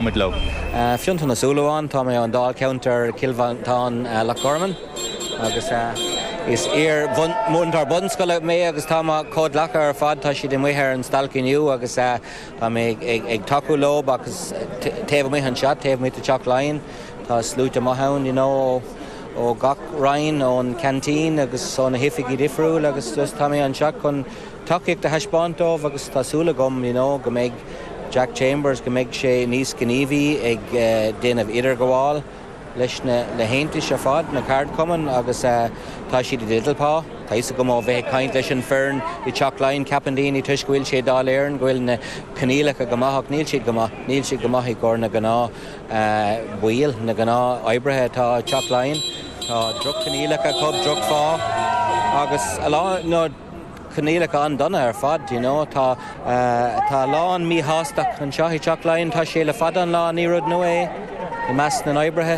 Muid leo. Fionntán Ó Súilleabháin, tá mé ón Dáilcheantar Cill Mhantáin Loch Garman agus is iar-mhúinteoir bunscoile mé agus tá mo chomhghleacaithe ar fad, tá siad amuigh ar an stailc inniu agus tá mé ag tacú leo agus taobh amuigh anseo, taobh amuigh de Teach Laighean, tá sluaite maith ann you know ó gach roinn, ón ceaintín agus ó na hoifigí difriúil agus just tá mé anseo chun tacaíocht a thaispeáint dóibh agus tá súil agam you know go mbeidh Jack Chambers, go mbeidh sé níos gníomhaí ag déanamh idirghabháil leis na le haontais ar fad, na ceardchumainn agus tá siad i dteideal pá. Tá fhios agam ó bheith ag caint leis an foireann i Teach Laighean, ceapann daoine toisc go bhfuil sé i Dáil Éireann go bhfuil na coinníollacha go maith ach níl siad go maith, níl siad go maith i gcomhair na gnáth baill, na gnáth oibrithe atá i Teach Laighean. Tá droch-choinníollacha acu, droch-phá agus a lán, no, coinníollacha an-dona ar fad, you know. Tá, tá a lán míshástacht anseo i Teach Laighean, tá sé le fada an lá, ní rud nua é i measc na n-oibrithe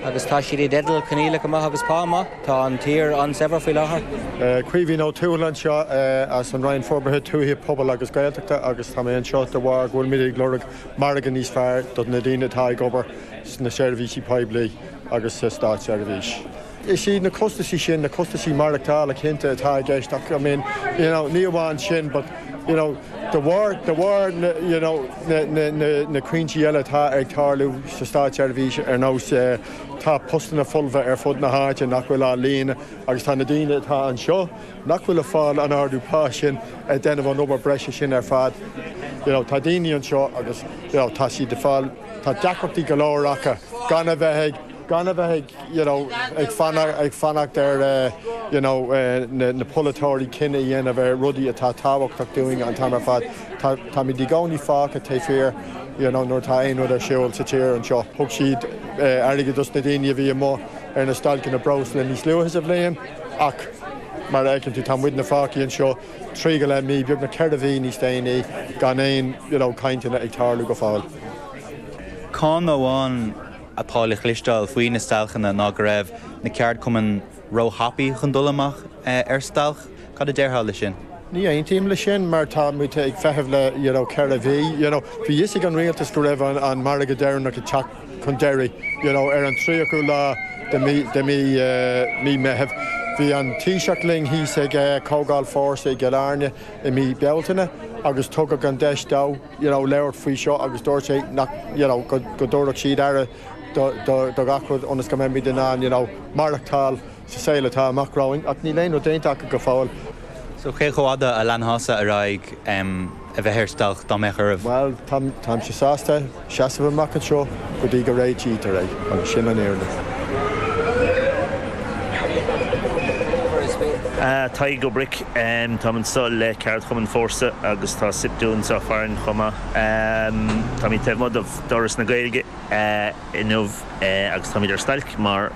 agus tá siad i dteideal coinníollacha maith agus pá maith. Tá an tír an-saibhir faoi láthair. Caoimhín Ó Tuathail anseo as an Roinn Forbartha Tuaithe, Pobail agus Gaeltachta agus tá mé anseo de bharr go bhfuilimid ag lorg margadh níos fearr do na daoine atá ag obair sna seirbhísí poiblí agus sa státseirbhís. Is iad na costaisí sin, na costaisí maireachtála cinnte atá i gceist ach I mean, you know, ní amháin sin but, you know, de bharr, de bharr na, you know, na, na, na, na cúinsí eile atá ag tarlú sa státseirbhís ar nós eh, tá postanna folmha ar fud na háite nach bhfuil á líonadh agus tá na daoine atá anseo nach bhfuil ag fáil an ardú pá sin ag déanamh an obair breise sin ar fad. You know, tá daoine anseo agus, you know, tá siad ag fáil, tá deacrachtaí go leor acu gan a bheith ag, gan a bheith ag, you know, ag fanacht, ag fanacht ar, you know, na, na polaiteoirí cinneadh a dhéanamh ar rudaí atá tábhachtach dúinn an t-am ar fad. Tá, táimid i gcónaí fágtha taobh thiar, you know, nuair atá aon rud ar siúl sa tír anseo. Thug siad airgead dos na daoine a bhí amuigh ar na stailceanna breosla níos luaithe sa bhliain ach mar a fheiceann tú tá muidne fágtha anseo trí go leith mí, beagnach 4 mhí níos déanaí gan aon, you know, cainteanna ag tarlú go fóill. Cáineadh amháin atá le cloisteáil faoi na stailceanna ná go raibh na ceardchumainn róthapaidh chun dul amach ar stailc. Cad a déarfá le sin? Ní aontaím leis sin mar tá muid ag feitheamh le you know 4 mhí you know. Bhí fhios ag an rialtas go raibh an an margadh deireanach ag teacht chun deiridh you know ar an 30ú lá de mí de mí mí Meitheamh. Bhí an Taoiseach linn thíos ag Comhdháil Fórsa i gCill Airne i mí Bealtaine agus tugadh an deis dó you know, labhairt faoi seo agus dúirt sé nach, you know, go, go dtabharfadh siad aire do, do, do gach rud ionas go mbeimid in ann, you know, maireachtáil sa saol atá amach romhainn ach níl aon rud déanta acu go fóill. So cé chomh fhada a leanfása ar aghaidh em a bheith ar stailc dá mbeadh oraibh? Bhuel, táim, táimse sásta seasamh amach anseo go dtí go réitítear é agus sin an fhírinne. Tadhg Ó Bric, Táim anseo le ceardchumann Fórsa agus tá Siptu anseo farainn chomh maith. Táimid taobh amuigh d'Fhoras na Gaeilge inniu agus táimid ar stailc mar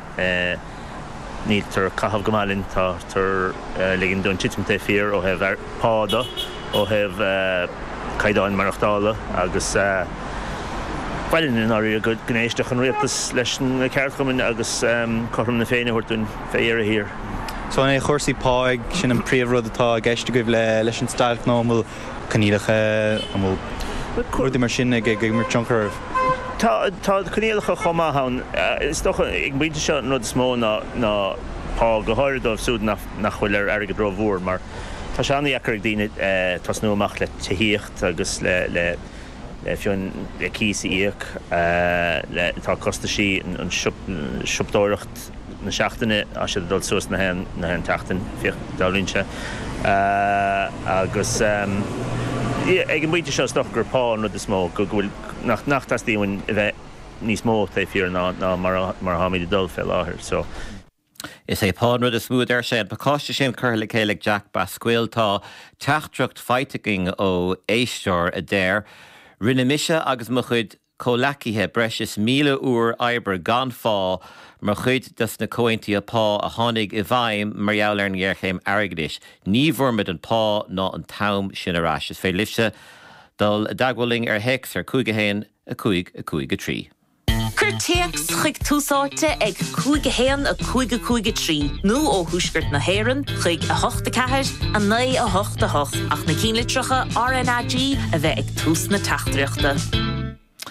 níltear ag caitheamh go maith linn. Táthar ag ligean dúinn titim taobh thiar ó thaobh pá de, ó thaobh caighdeáin maireachtála agus ba mhaith linn i ndáiríre go n-éistfeadh an rialtas leis na ceardchumainn agus cothrom na Féinne a thabhairt dúinn fé dheireadh thiar. So an é cúrsaí pá, sin an príomhrud atá i gceist agaibh leis an stailc nó an bhfuil coinníollacha, an bhfuil rudaí mar sin ag imirt tionchar oraibh? Tá, tá coinníollacha chomh maith ann. Is dócha ag an bpointe seo an rud is mó ná ná pá, go háirid dóibh siúd nach nach bhfuil ar airgead rómhór mar tá sé an-dheacair ag daoine tosnú amach le tithíocht agus le le le fiú le cíos a íoc, le tá costaisí an siopadóireacht na seachtaine, tá siad ag dul suas na haon na haon tseachtain, féach, dealraíonn sé. Agus ag an bpointe seo is dócha gur pá an rud is mó, go bhfuil, nach nach dteastaíonn uainn a bheith níos mó taobh thiar ná ná mar a mar atáimid ag dul fé láthair. So. Is é pá an rud is mó a deir sé. An pacáiste sin curtha le chéile ag Jack Basquille. Tá teachtaireacht faighte againn ó éisteoir a deir, Rinne mise agus mo chuid comhleacaithe breis is 1,000 uair oibre gan phá mar chuid des na comhaontuithe pá a tháinig i bhfeidhm mar gheall ar an ngéarchéim airgeadais. Ní bhfuair muid an pá ná an t-am sin ar ais. Is féidir libhse dul i dteagmháil linn ar théacs ar 5 1 5 5 3. Cuir téacs chuig Tús Áite ag 5 1 5 5 3 nó ó Thuaisceart na hÉireann chuig 8 4 9 8 8 ach na cinnlitreacha RnaG a bheith ag tús na teachtaireachta.